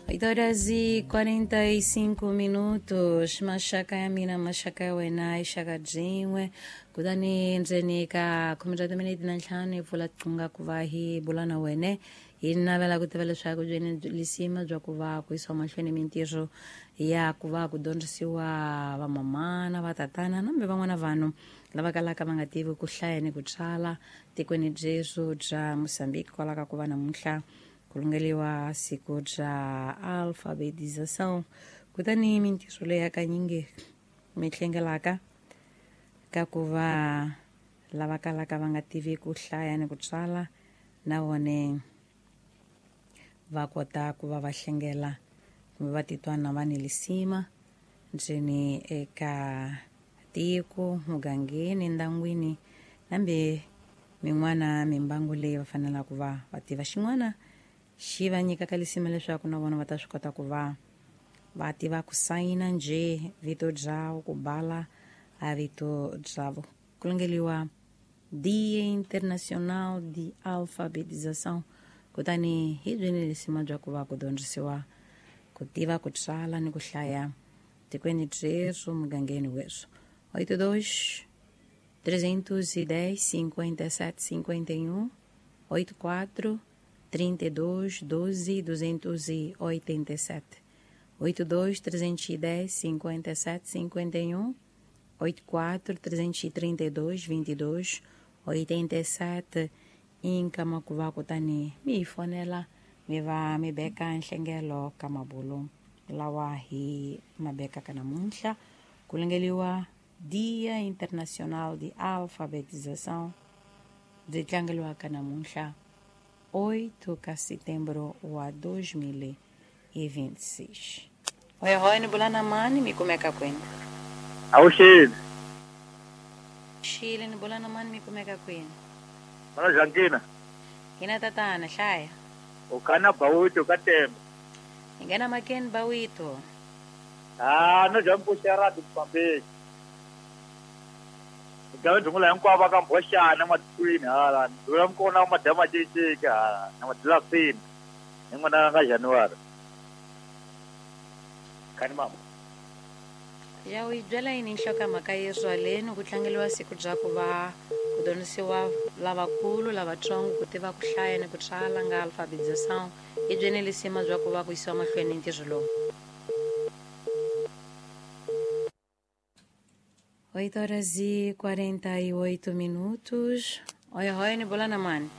8h45, maxaka ya mina, maxaka ya wena i xaka byin'we. Kutani ndzeni ka 35 hi pfula qunga ku va hi bula na wene, hi navela ku tiva leswaku byini lisima bya ku va ku yisiwa mahlweni mintirho ya ku va ku dyondzisiwa vamamana, vatatana nambe van'wana vanhu lava kalaka va nga tivi ku hlaya ni ku tsala tikweni byesu bya Mozambique, kwala ka ku va namuntlha ku lungeliwa siku bya alfabetização. Kutani mintirho leyi hakanyingi mi hlengelaka ka ku va lava kalaka va nga tivi ku hlaya ni ku tsala na vone va kota ku va va hlengela kumbe va titwa na va ni lisima ndzeni eka tiko, mugangeni, ndyangwini nambe min'wana mimbangu leyi va fanelaka va va tiva. Xin'wana xi va nyikaka lisima leswaku na vona va ta swi kota ku va va tiva ku sayina njhe vito byavo, ku bala a vito byavo. Ku lungeliwa Dia Internacional de Alfabetização. Kutani hi byini lisima bya ku va ku dyondzisiwa ku tiva ku tsala ni ku hlaya tikweni byesu, mugangeni wesu? 82 310 57 51, 84 32 12 287, 82 310 57 51, 84 332 22 87. Inkama ku va kutani mi hi fonela, mi va mi beka nhlengelo ka mabulu lawa hi ma bekaka namuntlha ku lungeliwa Dia Internacional de Alfabetização, byi tlangeliwaka namuntlha 8 ka setembro wa 2026. Hoyi hoyi, ni bula na mani, mi kumeka kwini? Awuxeni. Xile, ni bula na mani, mi kumeka kwini? Mana Jankina. Hina tatana hlaya. U kana Bawito ka Tembe. Hi nghena makeni, Bawito. Ah, no jampu xera Mozambique. Gawe ndhungula hinkwavo va ka Mbhoxana matikweni hala. Ndhungula mukona wa madama ceceke hala na madilasini. Hi n'wana nga January. Khani mama. Ya u yi byela yini nhlokomhaka yeswaleni ku tlangeliwa siku bya ku va ku dyondzisiwa lavakulu, lavatsongo ku tiva ku hlaya ni ku tsala nga alfabetização? Hi byeni lisima bya ku va ku yisiwa mahlweni ntirho lowu? 8h48. Oi, oi, ni bula na mani?